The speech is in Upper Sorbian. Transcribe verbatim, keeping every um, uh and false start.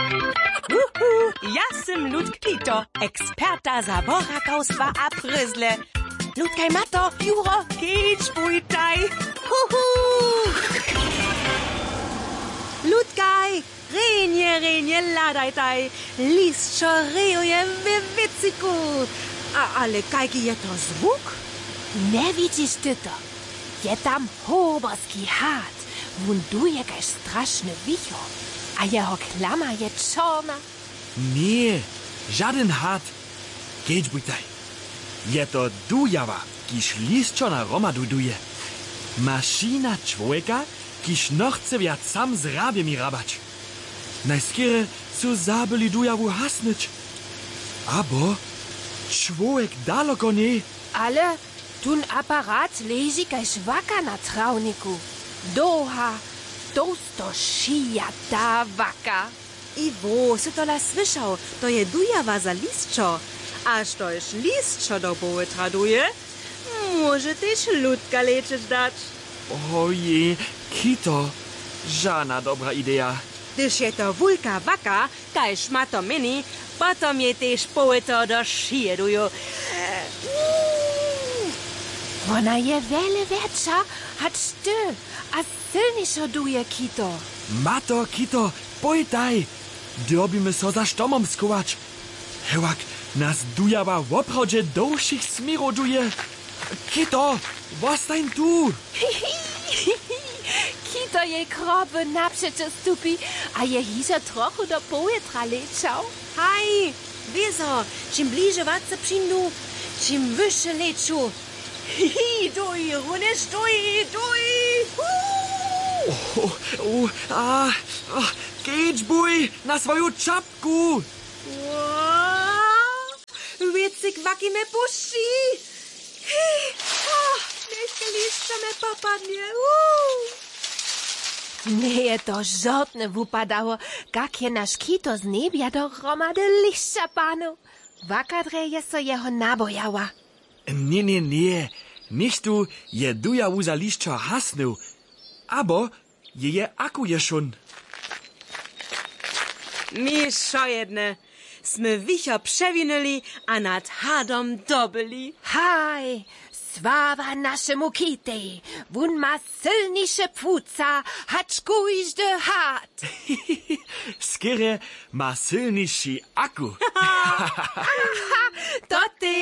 Uhu, ja sym Ludk Kito, eksperta za borakawstwa a pryzle. Ludkaj, mato, juro, kedźbujtaj. Uhu. Ludkaj, rjenje, rjenje hladajtaj. Lisćo rejuje we wěciku. A ale kajki je to zwuk? Njewidźiš ty to? Je tam hoberski had. Wón duje kaž strašny wichor, a jeho klama je čorna. Ně, žadyn had. Kedźbujtaj. Je to dujawa, kiž lisćo na hromadu duje. Mašina čłowjeka, kiž nochce wjac sam z hrabjemi hrabać. Najskerje su zabyli dujawu hasnyć. Abo čłowjek daloko njej. Ale tón aparat leži kaž waka na trawniku. Dołha, tołsto šijata waka. Iwo, sy tola słyšał? To je dujawa za lisćo. A štož lisćo do połytra duje, móže tež Ludka lečeć dać. Ojej, Kito, žana dobra ideja. Hdyž je to wulka waka, kaž ma to měni, potom jej tež połytro do šije duju. Wona je wjele wjetša hač ty a sylnišo duje, Kito. Mato, Kito, pójtaj. Dyrbimy so za štomom schować. Hewak nas dujawa woprawdźe do wšěch směrow duje. Kito, wostań tu. Kito jej kropy napřećo stupi a je hižo trochu do powětra lečał. Haj, wězo, čim bliže watce přińdu, čim wyše leću. Hi, hi, duj, runjež duj, duj. Hu! O, o, a, a, kedźbuj na swoju čapku. Wow! Wěcik waki mje pušći. Hi, o, njech lisćo mje popadnje. Uu. Njeje to žortnje wupadało, kak je naš Kito z njebja do hromady lisća panu. Waka drje je so jeho nabojała. Ně, ně, ně, něchtó je dujawu za lisćo hasnył. Abo jeje aku je šón. My wšojedne smy wichor přewinyli a nad hadom dobyli. Haj, sława našemu Kitej, wón ma sylniše płuca hač kóždy had. Skerje ma sylniši aku. To ty.